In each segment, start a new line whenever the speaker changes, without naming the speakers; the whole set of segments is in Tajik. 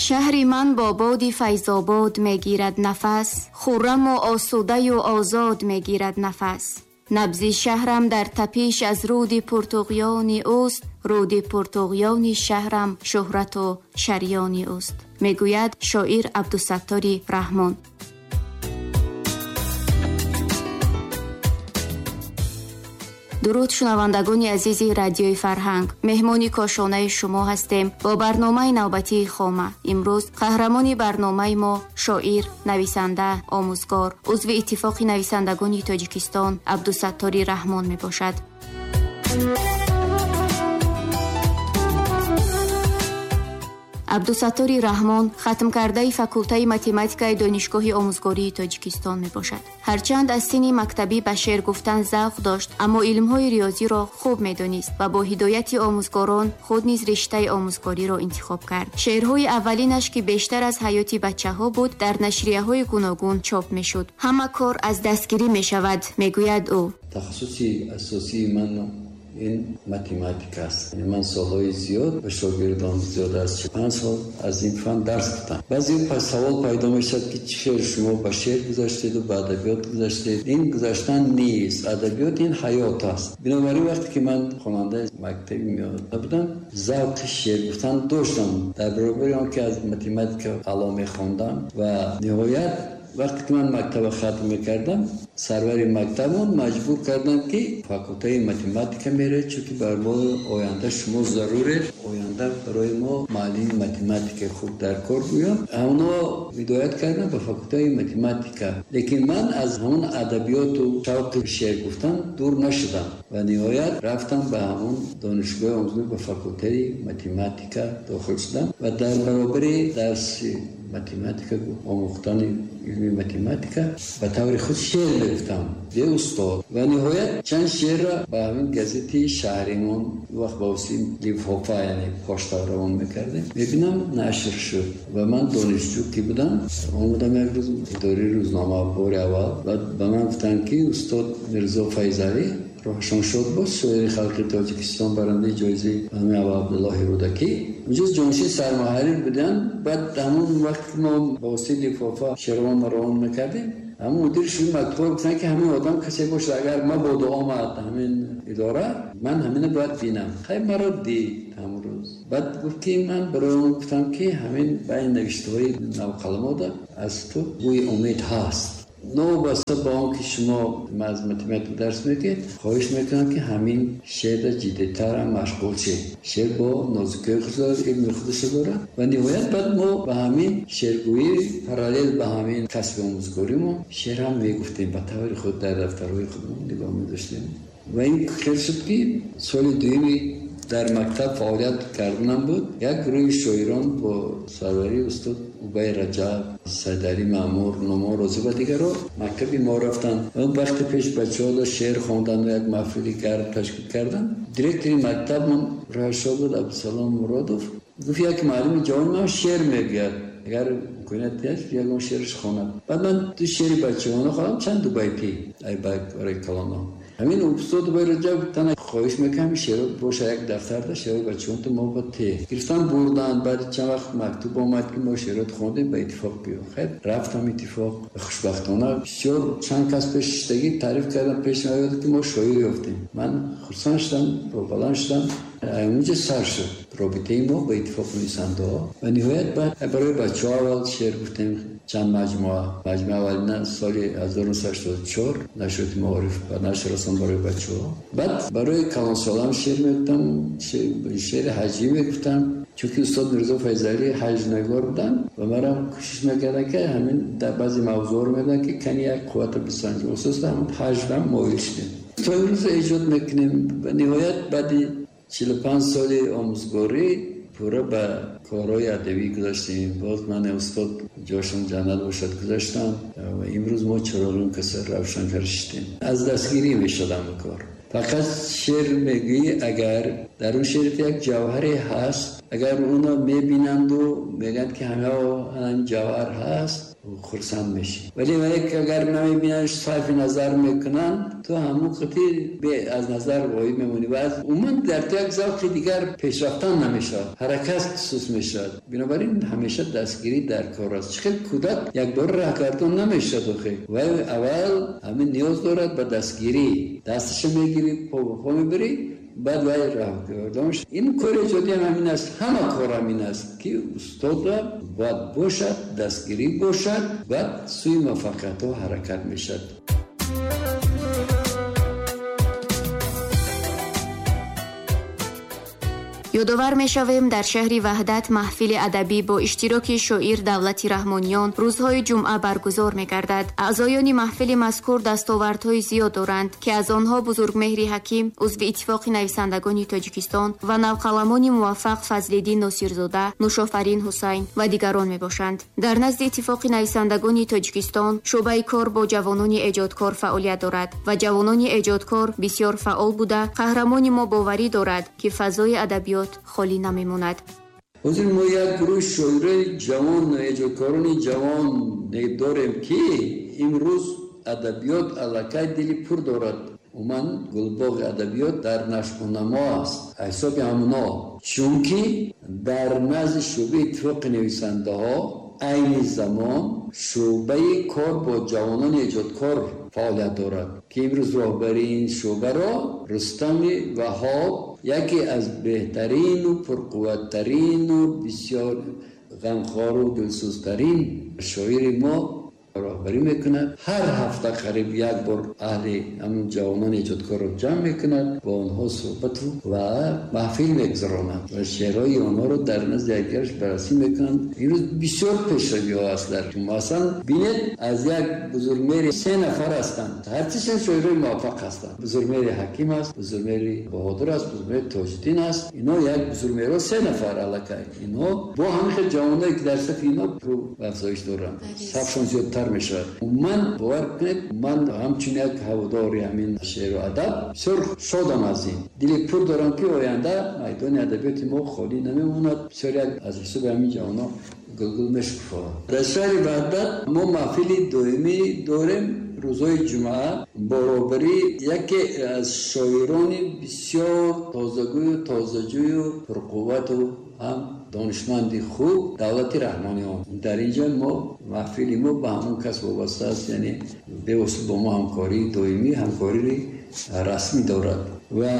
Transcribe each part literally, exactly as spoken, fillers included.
Шаҳри ман бо боди Файзобод мегирад нафас, хурраму осудаю озод мегирад нафас. Набзи шаҳрам дар тапиш аз руди пуртуғёни ӯст, руди пуртуғёни шаҳрам шӯҳрату шарёни ӯст, мегӯяд шоир Абдусаттори Раҳмон. Дуруд шунавандагони азизи радиои Фарҳанг, меҳмони кошонаи шумо ҳастем бо барномаи навбатии Хома. Имрӯз қаҳрамони барномаи мо шоир, нависанда, омӯзгор, узви Иттифоқи нависандагони Тоҷикистон Абдусаттори Раҳмон мебошад. Абдусаттори Раҳмон хатмкардаи факултаи математикаи Донишгоҳи омӯзгории Тоҷикистон мебошад. Ҳарчанд аз синни мактабӣ ба шеър гуфтан завқ дошт, аммо илмҳои риёзиро хуб медонист ва бо ҳидояти омӯзгорон худ низ риштаи омӯзгориро интихоб кард. Шеърҳои аввалинаш, ки бештар аз ҳаёти бачаҳо буд, дар нашрияҳои гуногун чоп мешуд. Ҳама кор аз дастгирӣ мешавад, мегӯяд ӯ.
Тахассуси асосии ман ин математика аст. Ман солҳои зиёд ба шогирдон, зиёд аз панҷ сол аз ин фан дарс гуфтам. Баъзе савол пайдо мешавад, ки чӣ хел шумо ба шеър гузаштеду ба адабиёт гузаштед. Ин гузаштан нест, адабиёт ин ҳаёт аст. Бинобар ин вақте ки ман хонандаи мактаби миёна будам, завқи шеър гуфтан доштам. Дар баробари он ки аз математика аъло мехондам ва ниҳоят вақте ки ман мактаба хатм мекардам, сарвари мактабон маҷбур карданд, ки факултаи математика меравед, чунки барои оянда шумо заруред, оянда барои мо муаллими математикаи хуб дар кор гӯям. Ҳамонҳо ҳидоят карданд ба факултаи математика. Лекин ман аз ҳамон адабиёту шавқи шеър гуфтан дур нашудам ва ниҳоят рафтам ба ҳамон донишгоҳи омӯзгорӣ, ба факултаи математика дохил шудам ва дар баробари дарси математика, омӯхтани илми математика, ба таври худ шеър мегуфтам бе устод. Ва ниҳоят чанд шеърро ба ҳамин газети шаҳримон, вақт ба воситаи лифофа, яъне пошта равон мекардем, мебинам нашр шуд. Ва ман донишҷӯ ки будам, омадам як рӯз идораи рӯзнома бори аввал ва ба ман гуфтанд, ки устод Мирзо Файзалӣ, роҳашон шод боз, шоири халқи Тоҷикистон, барандаи ҷоизаи Ҳамин Абдуллоҳи Рӯдакӣ, унҷо ҷонишини сармуҳаррир буданд. Баъд ҳамон вақт ки мо ба воситаи лифофа шеърҳоро равон мекардем, ҳамон мудири шӯъбаи матбуот гуфтанд, ки ҳамин одам касе бошад, агар мабодо омад ҳамин идора, ман ҳаминро бояд бинам. Хай маро дид ҳамон рӯз. Баъд гуфт, ки ман барои он гуфтам, ки ҳамин байни навиштаҳои навқаламода аз ту бӯи умед ҳаст. Новобаста ба он ки шумо аз математика дарс мекунед, хоҳиш мекунам, ки ҳамин шеърро ҷиддитарам машғул шед. Шеър бо нозукиҳои худ дорад, илми худашро дорад. Ва ниҳоят баъд мо ба ҳамин шеъргӯӣ параллел ба ҳамин касби омӯзгоримон шеър ҳам мегуфтем, ба таври худ дар дафтарҳои худмон нигоҳ медоштем. Ва ин хел шуд, ки соли дуюми дар мактаб фаъолият карданам буд, як гурӯҳи шоирон бо сарварии устод Убай Раҷаб, Сайдалӣ Маъмур, Нумон Розӣ ва дигарро мактаби мо рафтанд. Он вақти пеш бачаҳо шеър хондан ва як маҳфили гарм ташкил карданд. Директори мактабмон роҳашо буд Абдусалом Муродов, гуфт як муаллими ҷавони ман шеър мегӯяд, агар имконият ҳаст ягон шеъраш хонад. Баъд ман ду шеъри бачаҳона хондам, чанд дубайтӣ барои калонҳо. Ҳамин устод Убай Раҷаб тана хоҳиш мекунам шеърҳо боша як дафтарда, шеърҳои бачаҳонто мо ба те гирифтан бурданд. Баъди чанд вақт мактуб омад, ки мо шеърҳоро хондем, ба иттифоқ биё. Хайр, рафтам иттифоқ. Хушбахтона бисёр чанд кас пеш шиштагӣ таъриф кардам, пеш наёд, ки мо шоир ёфтем. Ман хурсанд шудам, баланд шудам. Онҷо сар шуд робитаи мо ба иттифоқи нависандаҳо. Ва ниҳоят баъд барои бачаҳо аввал шеър гуфтем, чанд маҷмӯа. Маҷмӯа аввалина соли ҳазору нӯҳсаду ҳаштоду чор нашриёти маориф ба нашр расонд барои бачаҳо. Баъд барои калонсолам шеър мегуфтам, шеъри ҳаҷӣ мегуфтам, чунки устод Мирзо Файзалӣ ҳаҷнагор буданд ва манам кӯшиш мекардам, ки ҳамин дар баъзе мавзӯъҳоро медонам, ки кани як қуввата бисанҷем. Асосан ҳамон ҳаҷрам моил шудем. То имрӯз эҷод мекунем. Ва ниҳоят баъди чилу панҷ соли омӯзгорӣ пурра ба корҳои адабӣ гузаштем. Боз ман устод ҷошон ҷаннат бошад гузаштам ва имрӯз мо чароғи каса равшан кард шудем. Аз дастгирӣ мешудам кор. Фақат шеър мегӯӣ, агар дар он шеърат як ҷавҳаре ҳаст, агар онро мебинанду мегӯянд, ки ҳама ҳамин ҷавҳар ҳаст, хурсанд мешӣ. Вале агар намебинанд, сарфи назар мекунанд, ту ҳамон қитъи аз назар ғоиб мемонӣ ва аз умуман дар ту як завқи дигар пешрафтан намешавад, ҳаракат сус мешавад. Бинобар ин ҳамеша дастгирӣ дар кор аст. Чӣ хел кӯдак якбора роҳгардон намешавад, охе вай аввал ҳамин ниёз дорад ба дастгирӣ. Дасташо мегирӣ, по ба по мебарӣ, баъд вай роҳгардон мешавад. Ин кори эҷодӣ ҳам ҳамин аст, ҳама кор ҳамин аст, ки устода бояд бошад, дастгирӣ бошад, баъд сӯи муваффақиятҳо ҳаракат мешавад.
Ёдовар мешавем, дар шаҳри Ваҳдат маҳфили адабӣ бо иштироки шоир Давлати Раҳмониён рӯзҳои ҷумъа баргузор мегардад. Аъзоёни маҳфили мазкур дастовардҳои зиёд доранд, ки аз онҳо Бузургмеҳри Ҳаким, узви Иттифоқи нависандагони Тоҷикистон ва навқаламони муваффақ Фазлиддин Носирзода, Нушофарин Ҳусайн ва дигарон мебошанд. Дар назди Иттифоқи нависандагони Тоҷикистон шӯъбаи кор бо ҷавонони эҷодкор фаъолият дорад ва ҷавонони эҷодкор бисёр фаъол буда, қаҳрамони мо боварӣ дорад, ки фазои адабиёт холӣ намемонад.
Ҳозир мо як гурӯҳи шоирои ҷавон, эҷодкорони ҷавон дорем, ки имрӯз адабиёт аллакай дили пур дорад. Умуман гулбоғи адабиёт дар нашъунамо аст, ҳисоби ҳамоно, чунки дар назди шӯъбаи иттифоқи нависандаҳо айни замон шӯъбаи кор бо ҷавонони эҷодкор фаъолият дорад, ки имрӯз роҳбари ин шӯъбаро Рустами Ваҳоб, яке аз беҳтарину пурқувваттарину бисёр ғамхору дилсӯзтарин шоири мо роҳбарӣ мекунад. Ҳар ҳафта қариб як бор аҳли ҳамон ҷавонони эҷодкорро ҷамъ мекунад, бо онҳо суҳбату ва маҳфил мегузаронад ва шеърҳои онҳоро дар назди якдигараш баррасӣ мекунанд. Имрӯз бисёр пешравиҳо аст дар масалан бинед, аз як Бузургмеҳри се нафар ҳастанд, ҳарчишон шоирои муваффақ ҳастанд. Бузургмеҳри Ҳаким аст, Бузургмеҳри Баҳодур аст, Бузургмеҳри Тоҷиддин аст. Ино як бузургмеҳрҳо се нафар аллакай. Инҳо бо ҳамин хел ҷавоное ки дар сафи ино рӯ ба афзоиш доранд, сафшон зиёдтар мешавад. Ман бовар кунед, ман ҳамчун як ҳаводори ҳамин шеъру адаб бисёр шодам аз ин. Дили пур дорам, ки оянда майдони адабиёти мо холӣ намемонад. Бисёр як аз ҳисоби ҳамин ҷавонон гулгул мешукуфад. Дар шаҳри Ваҳдат мо маҳфили доимӣ дорем рӯзҳои ҷумъа баробари яке аз шоирони бисёр тозагӯю тозаҷӯю пурқуввату ҳам донишманди хуб Давлати Раҳмониён. Дар инҷо мо маҳфили мо ба ҳамон кас вобаста аст, яъне бевосита бо мо ҳамкории доимӣ, ҳамкории расмӣ дорад ва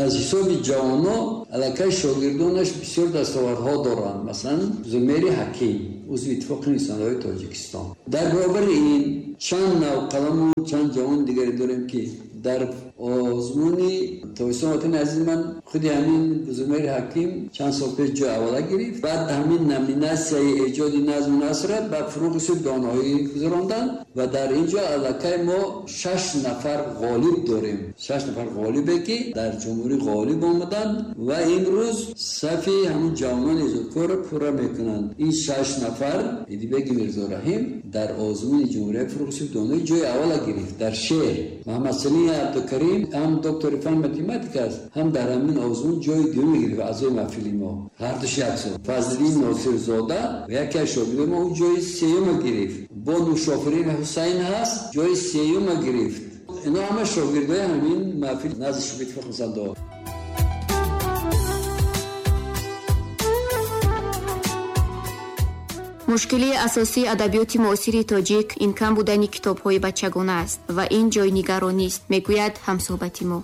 аз ҳисоби ҷавонҳо аллакай шогирдонаш бисёр дастовардҳо доранд. Масалан, Зумери Ҳаким, узви Иттифоқи нависандаҳои Тоҷикистон. Дар баробари ин чанд навқаламу чанд ҷавони дигаре дорем, ки дар озмуни Тоҷикистон ватани азизи ман худи ҳамин Бузургмеҳри Ҳаким чанд сол пеш ҷои аввала гирифт. Баъд ҳамин номинатсияи эҷоди назму насрро ба фуруғи субҳ доноӣ гузаронданд ва дар ин ҷо аллакай мо шаш нафар ғолиб дорем. Шаш нафар ғолибе, ки дар ҷумҳурӣ ғолиб омаданд ва имрӯз сафи ҳамун ҷавонони эҷодкорро пурра мекунанд. Ин шаш нафар Идибеки Мирзораҳим дар озмуни ҷумҳурияи фуруғи субҳ доноӣ ҷои аввала гирифт дар шеър. Маҳаммадсалим Абдукарим ҳам доктори фан математика аст, ҳам дар ҳамин озмун ҷои дуюм гирифт, аъзои маҳфили мо ҳардуш як сол. Фазлиддин Носирзода яке аз шогирдони мо, ӯ ҷои сеюма гирифт. Бо Нушофарин Ҳусайн ҳаст, ҷои сеюма гирифт. Ино ҳама шогирдои ҳамин маҳфил назди шӯъбаи иттифоқи нависандаҳо.
Мушкилии асосии адабиёти муосири тоҷик ин кам будани китобҳои бачагона аст ва ин ҷои нигаронист, мегӯяд ҳамсӯҳбати мо.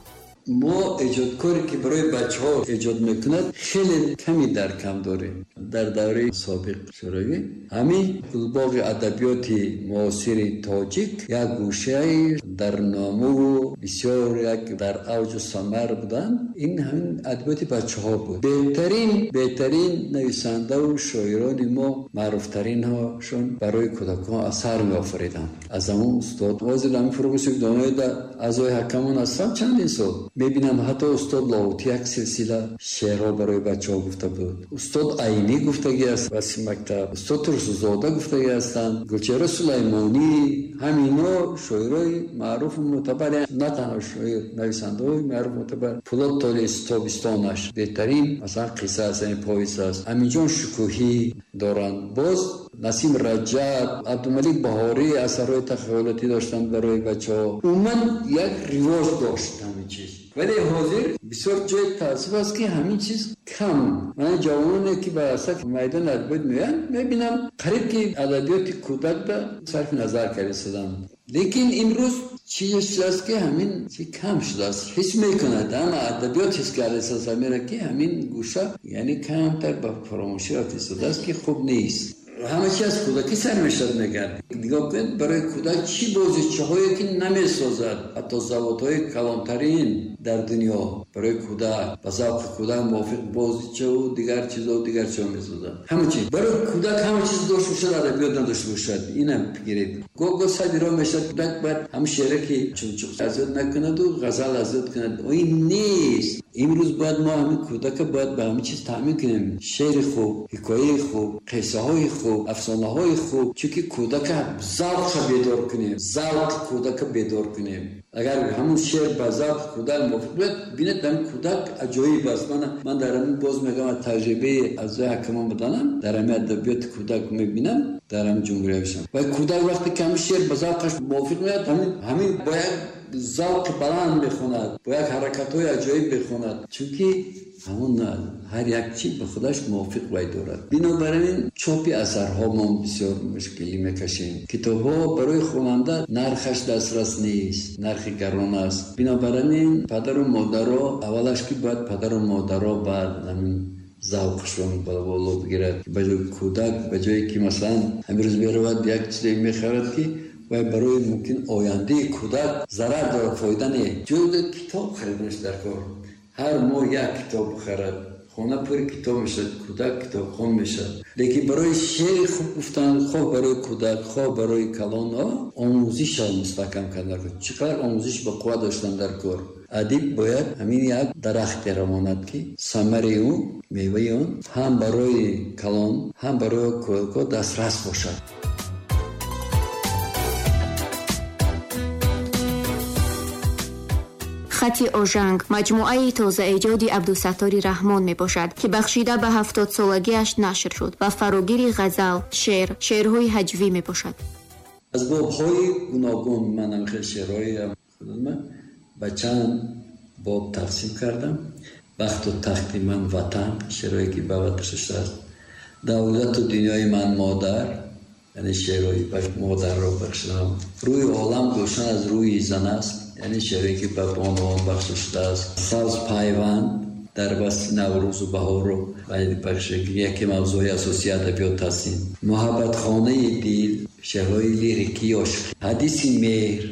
Мо эҷодкоре, ки барои бачаҳо эҷод мекунад, хеле ками дар кам дорем. Дар давраи собиқ шӯравӣ ҳамин гулбоғи адабиёти муосири тоҷик як гӯшаи дар номуву бисёр як дар авҷу самар буданд. Ин ҳамин адабиёти бачаҳо буд. Беҳтарин беҳтарин нависандаву шоирони мо, маъруфтаринҳошон барои кӯдакон асар меофариданд. Аз ҳамон устод ҳозир ҳамин фуруғи субҳ доноида аъзои ҳакамон ҳастам чандин сол, мебинам ҳатто устод Лоҳутӣ як силсила шеърҳо барои бачаҳо гуфта буд, устод Айнӣ гуфтагӣ аст васи мактаб, устод Турсунзода гуфтагӣ ҳастанд, Гулчеҳра Сулаймонӣ, ҳамино шоирои маъруфу мӯътабар, на танҳо шоир, нависандаҳои маъруф мӯътабар. Пулод Толис тобистонаш беҳтарин масалан қисса аст, яъне повесть аст. Аминҷон Шукӯҳӣ доранд, боз Насим Раҷаб, Абдумалик Баҳорӣ асарҳои тахайюлотӣ доштанд барои бачаҳо. Умуман як ривоҷ дошт ҳамин чиз. Вале ҳозир бисёр ҷои таассуф аст, ки ҳамин чиз кам. Ман ҷавононе ки ба сафи майдони адабиёт меоянд, мебинам қариб ки адабиёти кӯдак ба сарфи назар кардастанд. Лекин имрӯз чизе шудааст, ки ҳамин чи кам шудааст. Ҳис мекунад ҳама адабиёт ҳис кардааст ҳамеро, ки ҳамин гӯша яъне камтар ба фаромӯшӣ рафта истодааст, ки хуб нест. Ҳама чи аз кӯдакӣ сар мешавад, мегӯянд. Нигоҳ кунед, барои кӯдак чӣ бозичаҳое ки намесозад, ҳатто заводҳои калонтарин дар дунё барои кӯдак ба завқи кӯдак мувофиқ бозичаву дигар чизо дигар чизо месозад. Ҳама чиз барои кӯдак ҳама чиз дошта бошад, адабиёт надошта бошад. Инам бигиред. Гоҳ-гоҳ сади роҳ мешавад, кӯдак бояд ҳамун шеъре ки чунчуқ аз ёд накунаду ғазал аз ёд кунад. Ин нест. Имрӯз бояд мо ҳамин кӯдака бояд ба ҳамин чиз таъмин кунем. Шеъри хуб, ҳикояи хуб, қиссаҳои хуб, афсонаҳои хуб, чунки кӯдака завқша бедор кунем, завқи кӯдака бедор кунем. Агар ҳамун шеър ба завқи кӯдак мувофиқ бошад, бинед ҳамин кӯдак аҷоиб аст. Ман, ман дар ҳамин боз мегӯям, аз таҷрибаи аъзои ҳакамон буданам, дар ҳамин адабиёти кӯдак мебинам, дар ҳамин ҷумҳуриявишам. Ва кӯдак вақте ки ҳамин шеър ба завқаш мувофиқ меояд, ҳамин, ҳамин бо як завқи баланд мехонад, бо як ҳаракатҳои аҷоиб мехонад, чунки ҳамон ҳар як чиз ба худаш мувофиқ вай дорад. Бинобар ин чопи асарҳо мо бисёр мушкилӣ мекашем. Китобҳо барои хонанда нархаш дастрас нест, нархи гарон аст. Бинобар ин падару модаро аввалаш ки бояд падару модаро баъд ҳамин завқшон ба боло бигирад. Ба ҷои кӯдак, ба ҷое ки масалан ҳамин рӯз меравад як чизе мехарад, ки вай барои мумкин ояндаи кӯдак зарар дорад, фоида не. Ҷои китоб хариданаш дар кор. Ҳар моҳ як китоб бихарад, хона пури китоб мешавад, кӯдак китобхон мешавад. Лекин барои шеъри хуб гуфтан, хоҳ барои кӯдак, хоҳ барои калонҳо, омӯзишро мустаҳкам кардан дар кор. Чӣ қадар омӯзиш ба қувват доштан дар кор. Адиб бояд ҳамин як дарахте равонад, ки самари ӯ, меваи он ҳам барои калон, ҳам барои кӯдакҳо дастрас бошад.
Хати Ожанг маҷмӯаи тозаэҷоди Абдусаттори Раҳмон мебошад, ки бахшида ба ҳафтодсолагиаш нашр шуд ва фарогири ғазал, шеър, шеърҳои ҳаҷвӣ мебошад.
Аз бобҳои гуногун ман ҳамхел шеърҳои худам ба чанд боб тақсим кардам. Бахту тахти ман ватан, шеърҳое ки ба ватан шудааст. Давлату дунёи ман модар, яъне шеърҳои ба модарро бахшидам. Рӯи олам гулшан аз рӯи зан аст, яъне шеърҳое ки ба бонувон бахшида шудааст. Сабз пайванд дар васфи Наврӯзу баҳору бахшида, яке мавзӯи асосии адабиёт ҳастем. Муҳаббатхонаи дил, шеърҳои лирикии ошиқӣ. Ҳадиси меҳр,